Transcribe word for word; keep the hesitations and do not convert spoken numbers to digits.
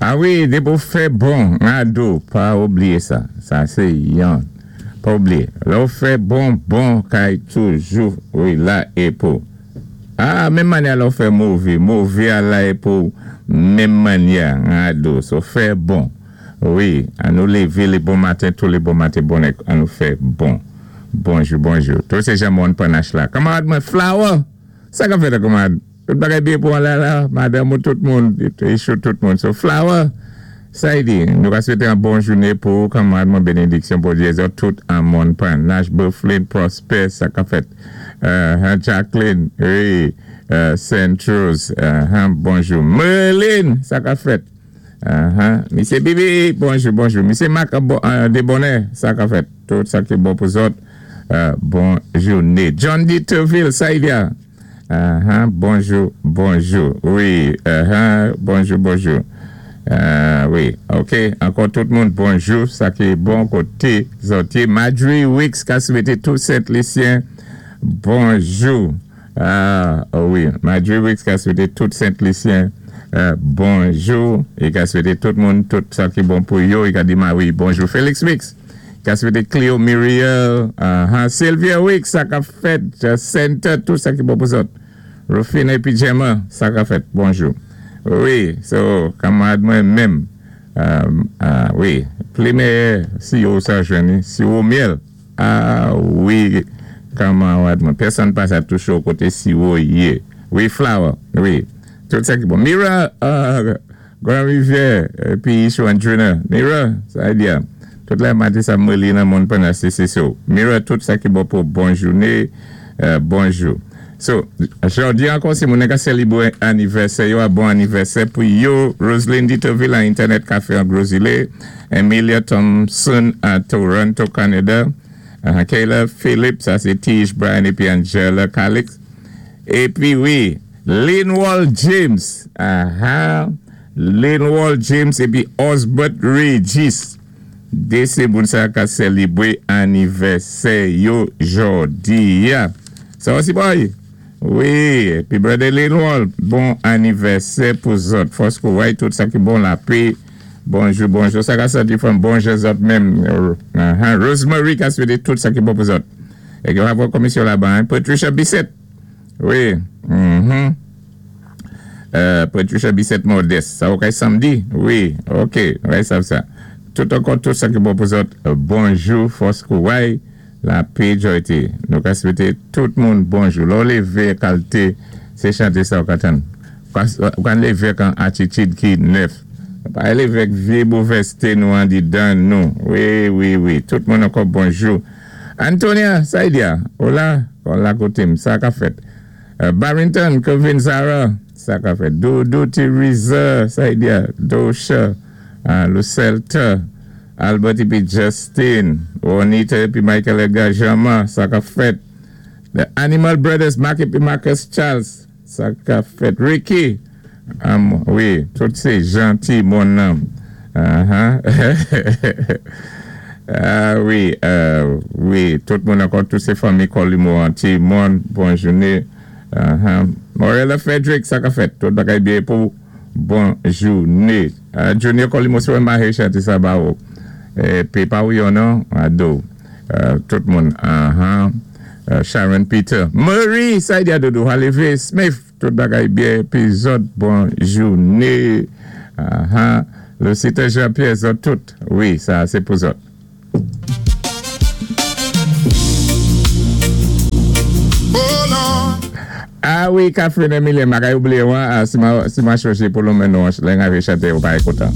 A wi, dépi ou fè bon, ado, pa oubliyé sa. Sa sé yon. Pa oubliyé. Lè ou fè bon, bon kay toujou, wi, la é pou. A, menm mannyè lè ou fè mové, mové a la é pou, menm mannyè, ado. So fè bon. Wi, annou lévé lé bon maten, tou lé bon maten, bon, annou fè bon. Bonjou, bonjou. Tou sé jan moun Panache la. Kanmarad mwen, Flower! Sa ka fèt, kanmarad? Tout bagay byen pou an la la, madanm ou tout moun, ichou tout moun. So, Flower, sa y di, nou ka swété an bon jouné pou kanmarad mwen bénédiksyon pou zòt tout an moun Panache, Bufflin, Prosper, sa ka fèt. Uh, Jacqueline, wi, uh, Saint Rose, uh, bonjou. Merlin, sa ka fèt. Uh-huh. Misyé Bibi, bonjou, bonjou. Misyé Marc uh, Debonnet, sa ka fèt. Tout sa ki bon pou zòt, uh, bon jouné. John D. Terville, sa y di a. Uh-huh. Bonjou, bonjou. Wi, uh-huh. Bonjou, bonjou. Uh, wi, ok. Ankò tout moun, bonjou. Sa ki bon koté zòt. Marjorie Wicks, ka swété tout Sent-Lisyen. Bonjou. Ah, wi. Marjorie Wicks, ka swété tout Sent-Lisyen. Uh, bonjou. É ka swété tout moun, tout sa ki bon pou yo. I ka di ma wi, bonjou. Felix Wicks. Ka swété Cleo Muriel, uh, Sylvia Wicks, sa ka fèt, Center, tout sa ki bon pou zòt. Rufina épi Gemma, sa ka fèt, bonjou. Wi, so, kanmarad mwen menm, um, uh, wi, pli méyè, siwo sa jwenni, siwo myèl, ah, wi, kanmarad mwen, pèsonn pa sa touché ou koté siwo yé. Wi, Flower, wi, tout sa ki bon. Mira, uh, Grand Rivière, épi Ichou Andrina, Mira, sa y di a. Tout la matin, sa mwen li nan moun Panache, sé so. Mira, tout sa ki bon pou bon jouné, euh, bonjou. So, jòdi ankò, si moun ka sélébwé anivèsè, yo a bon anivèsè pou yo, Roselyne Ditoville à Internet Café en Gros Islet, Emilia Thompson à Toronto, Canada, uh, Kayla Phillips, sa sé Tish Brian épi Angela Calix. Épi wi, Linwall James, uh-huh, Linwall James épi Osbert Regis. Dé sé moun sa ka sélébwé anivèsè yo jòdi a. Sa osi boy. Wi, épi brother Linwall, bon anivèsè pou zòt. Fòs kouway tout sa ki bon lapè. Bonjou, bonjou. Sa ka sòti from bonjou zòt menm. Uh-huh. Rosemary ka swété tout sa ki bon pou zòt. É yo avò komisyon laba, hein. Patricia Bissett. Wi. Mm-hmm. Euh, Patricia Bissett Modeste. Sa okay samdi? Wi, ok. Ouais, sa sa. Tout ankò, tout sa ki bon pou zòt. Bonjou, fòs kouway, lapè jòyté. Nou ka swété tout moun bonjou. Lè ou lévé kalité, sé chanté sa ou ka tann. Ou ka lévé kan atitid ki nèf. Pa lévé vyé movèzté nou andidan nou. Wi, wi, wi. Tout moun ankò bonjou. Antonia, sa y di a. Ola, ola koté m, sa ka fèt. Uh, Barrington, Kevin Zara, sa ka fèt. Doudou Teresa, sa y di a. Dosha, uh, Lucelta, Albert épi Justin, Juanita épi Michael Edgar Jama, sa ka fèt. The Animal Brothers, Mark épi Marcus Charles, sa ka fèt. Ricky, um, wi, tout sé janti moun nan. Uh-huh. Ah wi, euh, wi, tout moun ankò, tout sé fanmi Colimo, ti moun, bon jouné. Uh-huh. Morella Frederick, sa ka fèt. Tout bagay byen pou bon jouné. Uh, Junior Colimo, sé mahi chanté sa ba ou. Épi pa ou yon non, ado. Uh, tout moun, uh-huh. Uh, Sharon Peter. Marie, sa y di a dodo, Halivé Smith, tout bagay byen, épi zòt, bon jouné. Uh-huh. Lucita Jean-Pierre, zòt tout. Wi, sa sé pou zòt. Oh Lord. Ah wi, Catherine Emilien, m pa kay oubliyé, ah, si ma, si ma chwézi pou lonmen non, lè n avé chanté, ou pa kontan.